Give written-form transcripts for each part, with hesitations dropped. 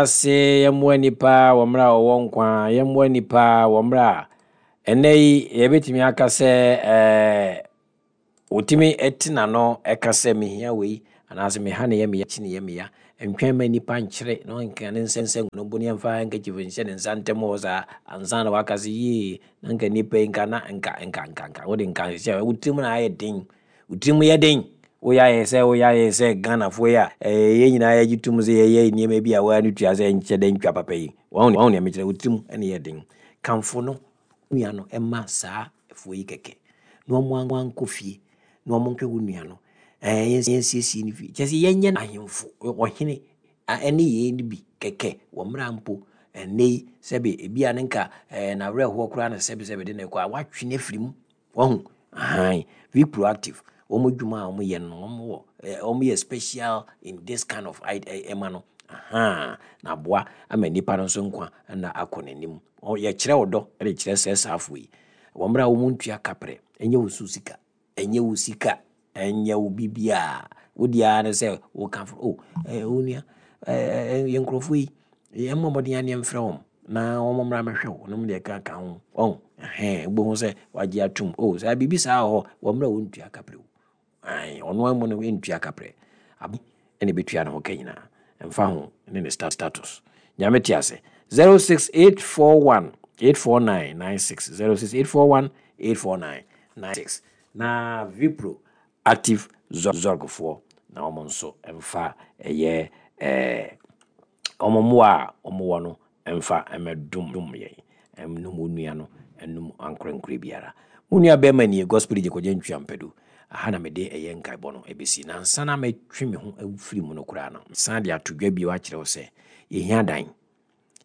Ase yɛmmoa nnipa wɔ mmerɛ a wɔwɔ nkwa, yɛmmoa nnipa wɔ mmerɛ a ɛnnɛ yi yɛbɛtumi aka sɛ ɛɛ wɔtumi te n'ano ɛka sɛ mehia wei anaasɛ meha ne yɛ meya kyi ne yɛ meya. Ntwɛn ma nnipa nkyere na ɔnka ne nsa nsa ngu no bo ne ɛmfa handkerchief nhyɛ ne nsa ntam hɔ saa ansa na waka sɛ yie na nka nnipa yi nka na nka nka nka nka wode nka hyehyɛ wo tirim na ayɛ den. Wo tirim yɛ den. Woyɛ ayɛ sɛ woyɛ ayɛ sɛ Ghanafoɔ yi a yɛn nyinaa yɛgye tom sɛ yɛyɛ nneɛma bi a woa no tua sɛ nkyɛ dɛ ntwa papa yi. Wahu wahu nea mekyerɛ? Wo tirim na ɛyɛ den. Kamfo no nua no ma saa foɔ yi kɛkɛ na wɔn ankɔ fie na wɔn nhwɛ wo nua no. Ɛɛ yɛnsiesie ne fie. Kyerɛ sɛ yɛnyɛ no ahemfo, ɔhene ɛne yei no bi kɛkɛ wɔ mmerɛ a mpo ɛnnɛ yi sɛbe ebi a ne nka ɛɛ n'awerɛhoɔ koraa na sɛbe sɛbe de no rekɔ a woatwe no afiri mu. Wahu? Ahan. Be proactive. Wɔn adwuma a wɔyɛ no, wɔn wɔ, eh, wɔn yɛ special in this kind of ɛma no. Ahan. Na aboa ama nipa no nso nkwa na akɔ n'anim. Yɛkyerɛ ɔdɔ de kyerɛ sɛ saafoɔ yi. Wɔn mmerɛ a wɔn ntua kaprɛ, ɛnyɛ wo so sika, ɛnyɛ wo sika. Ɛnyɛ wo biribiara. Wo deɛ ara ne sɛ woka fo, oh, eh, onua, eh, eh, yɛn nkurɔfoɔ yi, yɛmmɔ mmɔden ara ne yɛmfrɛ wɔn na wɔn mmra mmɛhwɛ wo, nom deɛ ɛka ka ho. Wɔn, ɛhɛn, wobɛhu sɛ wagye atum. Oh, saa biribi saa wɔ hɔ, wɔ mmerɛ a wɔntua kaprɛ o. Ae, ɔno ara mu no ntua kaprɛ. Aban na ɛbɛtua ne ho ka nyinaa. Ɛmfa ho ne ne status. Nyame te ase. 06841 849 96 06841 849 96 Na Vipro Active Zorg foɔ na wɔn nso mfa ɛyɛ ɛɛ wɔn mmoa a wɔn wɔ no mfa mmɛdom yɛn, ɛnum wo nua no, ɛnum ankorankorɛ biara. Mo nua bɛrima nie, Gospel DJ Kwadwo Antwi Ampadu. Aha na mede ɛyɛ nkaebɔ no ɛbɛsi. Na ansa na mɛtwe me ho afiri mu no koraa no, mesan de ato dwa bio akyerɛ wo sɛ yɛhia dan.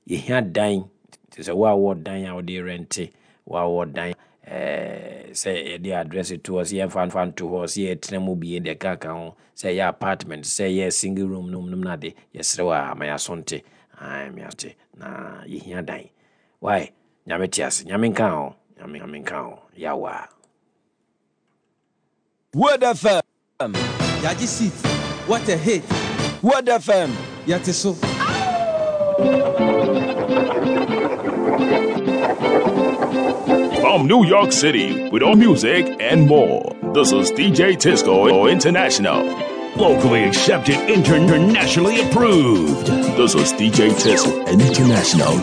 Yɛhia dan, te sɛ wo a wowɔ dan a wode rɛnte, wo a wowɔ dan eh, sɛ yɛde address to hɔ, sɛ yɛmfa mfa nto hɔ, sɛ yɛtena mu bi deɛ ɛkaka ho, sɛ ɛyɛ apartment, sɛ ɛyɛ single room nom nom no ade, yɛsrɛ wo a ma yɛaso nte, ae, ma yɛaso nte, na yɛhia dan. Why? Nyame te ase, Nyame nka ho, Nyame, Nyame nka ho, Yawaa. Word FM. Yagye seat, what a hit. Word FM. Yɛte so. From New York City, with all music and more. This is DJ Tisco International. Locally accepted, internationally approved. This is DJ Tisco International.